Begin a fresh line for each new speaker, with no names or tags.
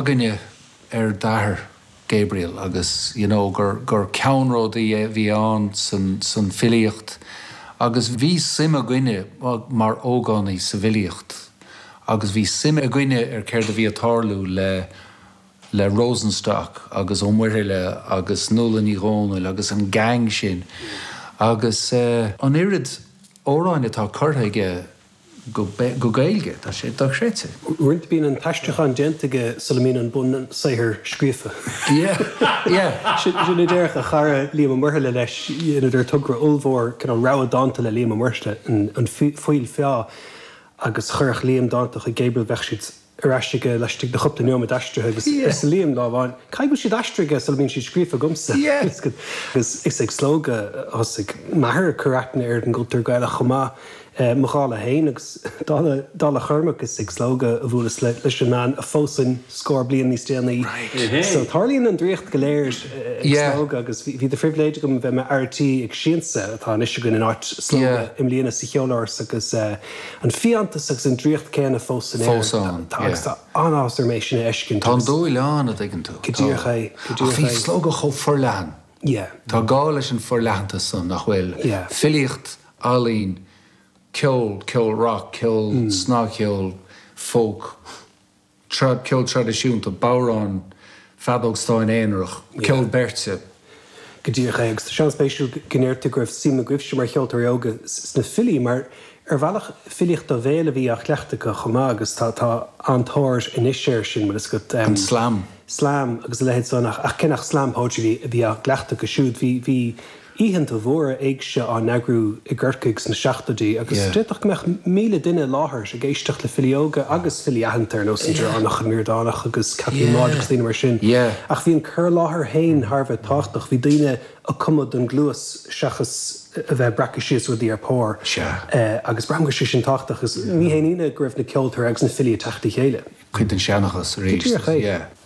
againne ar d'athair, Gabriel, agus you know gur, gur ceannródaí a bhí ann san, san filíocht agus bhí suim againne mar ógánaigh sa bhfilíocht agus bhí suim againne ar céard a bhí ag tarlú le, le Rosenstock agus Ó Muirthile agus Nuala Ní Dhomhnaill agus an gang sin agus an oiread amhráin atá curtha aige go Gaeilge, tá sé dochreidte.
Uaireanta bíonn an t-aistriúchán déanta aige sula mbíonn an bunsaothar scríofa.
Yeah, yeah.
Sin a déarfadh a chara Liam Ó Muirthile leis, dheineadar togra ollmhór, cineál rogha dánta le Liam Ó Muirthile, An Fuíoll Feá, agus chuirfeadh Liam dánta chuig Gabriel, bheadh siad ar ais aige laistigh de chúpla neomat aistrithe agus arsa Liam lá amháin, caithfidh go bhfuil siad aistrithe aige sula mbíonn siad scríofa agamsa. Agus is ag Slógadh a thosaigh m'athair ag cur aithne ar an gcultúr Gaelach chomh maith, mo dhála féin agus dála dála Chormaic is ag Slógadh a bhuaileas leis an mbean a phósfainn scór bliain níos déanaí. So tarlaíonn an draíocht go léir ag Slógadh agus bhí de phribhléid agam a bheith i m'fhear tí ag Siansa atá anois againn in áit Slógadh i mbliana sa Cheoláras agus An fiántas agus an draíocht céanna fós san aer.
Fós ann,
yeah. Agus tá an-áthas orm é sin a fheiscint.
Tá an dúil ann, a dtuigeann tú.
Go díreach é, go díreach
é. Ach bhí Slógadh chomh forleathan.
Yeah.
Tá gá leis an forleathantas san, nach bhfuil?
Yeah.
Filíocht, ealaín, ceol, ceol rock, ceol snagcheol, folk. ceol traidisiúnta, bodhrán, feadóg stáin aonarach, ceol beirte.
Go díreach é. Agus tá sé an-spéisiúil go ndeir tú go raibh suim agaibhse mar cheoltóirí óga sna filí, mar ar bhealach filíocht ó bhéal a bhí á cleachtadh acu chomh maith agus tá tá an-tóir anois air sin, bhfuil fhios agat.
An slam.
Slam agus a leithéid san ach cé nach slam poetry a bhí á gcleachtadh acu siúd, bhí bhí oícheanta mhóra éigse á n-eagrú i gCorcaigh sna seachtóidí agus d'fhéadfadh go mbeadh 1,000 duine i láthair ag éisteacht le filí óga agus filí aitheanta ar nós an Direánach, an Ríordánach agus Caitlín Maude agus daoine mar sin. Ach bhí an cur i láthair féin thar a bheith tábhachtach. Bhí daoine ag cumadh don gcluas seachas a bheith ag breacadh síos rudaí ar pár. Agus braithim go raibh sé sin tábhachtach agus ní haon ionadh go raibh na ceoltóirí agus na filí ag teacht le chéile.
Cuid den seanchas arís.
Go díreach é.